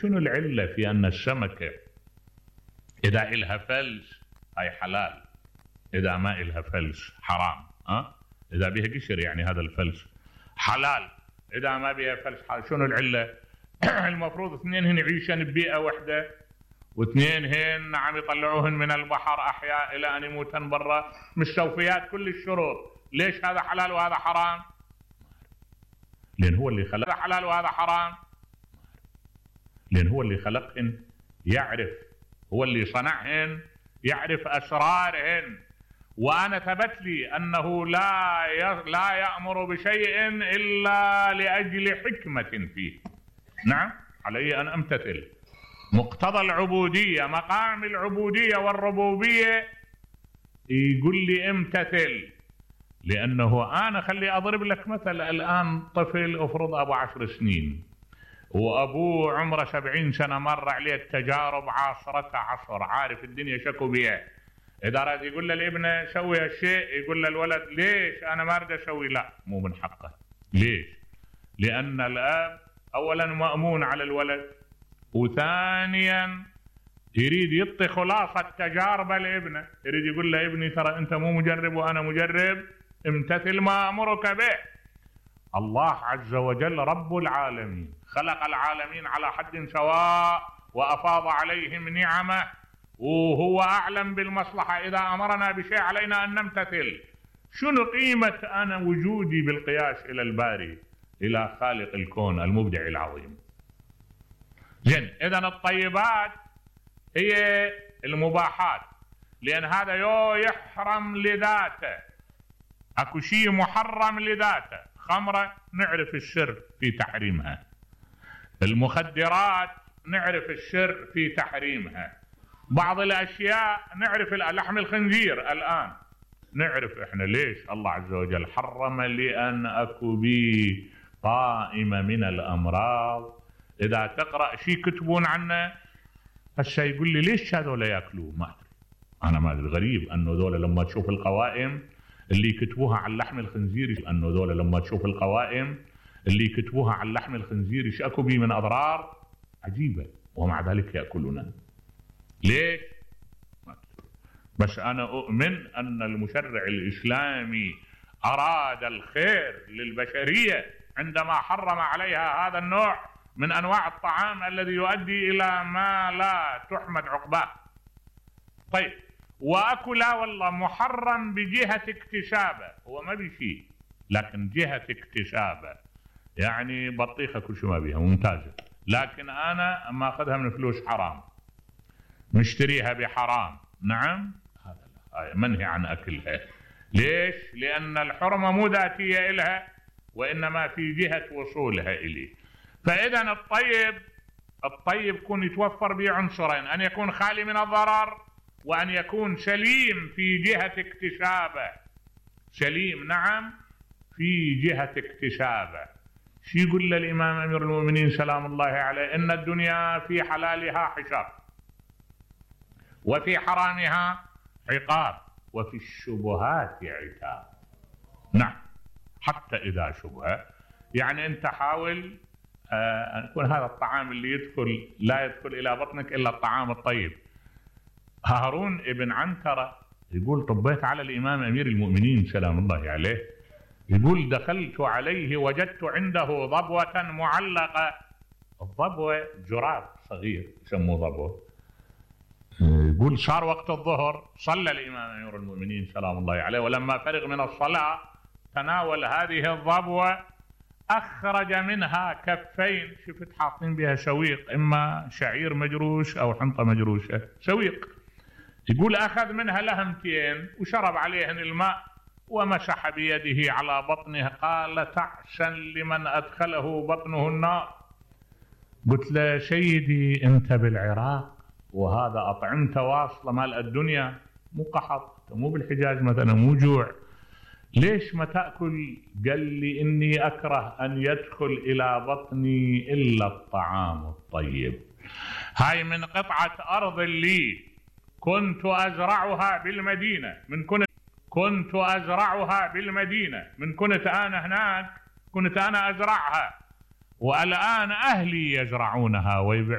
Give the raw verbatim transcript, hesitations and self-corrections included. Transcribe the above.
شنو العلة في أن السمكة إذا إلها فلس هاي حلال، إذا ما إلها فلس حرام؟ أه؟ إذا بها قشر يعني هذا الفلس حلال، إذا ما بها فلس حلال. شنو العلة؟ المفروض اثنين هن يعيشن ببيئة واحدة، واثنين هن عم يطلعوهن من البحر أحياء إلى أن يموتن برا، مستوفيات كل الشروط. ليش هذا حلال وهذا حرام؟ لأن هو اللي خلق حلال وهذا حرام، لأن هو اللي خلقهن، يعرف، هو اللي صنعهن، يعرف أسرارهن. وأنا ثبت لي أنه لا لا يأمر بشيء إلا لأجل حكمة فيه. نعم، علي أن أمتثل. مقتضى العبودية، مقام العبودية والربوبية يقول لي امتثل. لأنه أنا خلي أضرب لك مثل، الآن طفل أفرض أبو عشر سنين وأبوه عمره سبعين سنة، مر عليه التجارب عاصرته عصر، عارف الدنيا شكو بيها. إذا راد يقول للابن سوي هالشيء، يقول للولد ليش أنا ما أريد أسوي؟ لا، مو من حقه. ليش؟ لأن الأب أولا مأمون على الولد، وثانيا يريد يعطي خلاصة تجاربه لابنه، يريد يقول له ابني ترى أنت مو مجرب وأنا مجرب، امتثل ما أمرك به. الله عز وجل رب العالمين خلق العالمين على حد سواء وأفاض عليهم نعمه، وهو أعلم بالمصلحة. إذا أمرنا بشيء علينا أن نمتثل. شنو قيمة أنا وجودي بالقياس إلى الباري، إلى خالق الكون المبدع العظيم؟ زين، إذن الطيبات هي المباحات، لأن هذا يو يحرم لذاته، أكو شيء محرم لذاته. خمرة نعرف السر في تحريمها، المخدرات نعرف السر في تحريمها، بعض الأشياء نعرف، لحم الخنزير الآن نعرف إحنا ليش الله عز وجل حرم، لأن أكو بي قائمة من الأمراض. إذا تقرأ شيء كتبون عنه هسه يقول لي ليش هذول يأكلوه؟ ما أدري، أنا ما أدري. غريب أنه ذولا لما تشوف القوائم اللي يكتبوها عن لحم الخنزير، أنه ذولا لما تشوف القوائم اللي يكتبوها عن لحم الخنزير ايش أكو بي من أضرار عجيبة، ومع ذلك يأكلونه. ليش؟ بس أنا أؤمن أن المشرع الإسلامي أراد الخير للبشرية عندما حرم عليها هذا النوع من أنواع الطعام الذي يؤدي إلى ما لا تحمد عقباه. طيب، وأكو لا والله محرم بجهة اكتسابه، هو ما بشيء لكن جهة اكتسابه، يعني بطيخة كل شو ما بيها ممتازة، لكن أنا أما أخذها من فلوس حرام، مشتريها بحرام، نعم، هذا منهي عن أكلها. ليش؟ لأن الحرمة مو ذاتية إلها، وإنما في جهة وصولها إليه. فإذا الطيب الطيب يكون يتوفر به عنصرين، أن يكون خالي من الضرر، وأن يكون سليم في جهة اكتسابه. سليم نعم في جهة اكتسابه. شو يقول للإمام أمير المؤمنين سلام الله عليه؟ إن الدنيا في حلالها حساب، وفي حرامها عقاب، وفي الشبهات عتاب. نعم، حتى إذا شبهة، يعني أنت حاول أن يكون هذا الطعام اللي يدخل لا يدخل إلى بطنك إلا الطعام الطيب. هارون ابن عنترة يقول طبيت على الإمام أمير المؤمنين سلام الله عليه، يقول دخلت عليه وجدت عنده ضبوة معلقة. الضبوة جراب صغير يسموه ضبوة. يقول صار وقت الظهر، صلى الإمام أمير المؤمنين سلام الله عليه، ولما فرغ من الصلاة تناول هذه الضبوة، أخرج منها كفين، شفت حاطين بها سويق، إما شعير مجروش أو حنطة مجروشة، سويق. يقول أخذ منها لهمتين وشرب عليهن الماء ومسح بيده على بطنه، قال تعسا لمن أدخله بطنه النار. قلت له سيدي أنت بالعراق وهذا أطعمت واصلة مال الدنيا، مو قحط، مو بالحجاز مثلا، مو جوع، ليش ما تأكل؟ قال لي إني أكره أن يدخل إلى بطني إلا الطعام الطيب. هاي من قطعة أرض لي كنت أزرعها بالمدينة، من كنت كنت أزرعها بالمدينة من كنت أنا هناك، كنت أنا أزرعها، والآن أهلي يزرعونها ويبيعونها.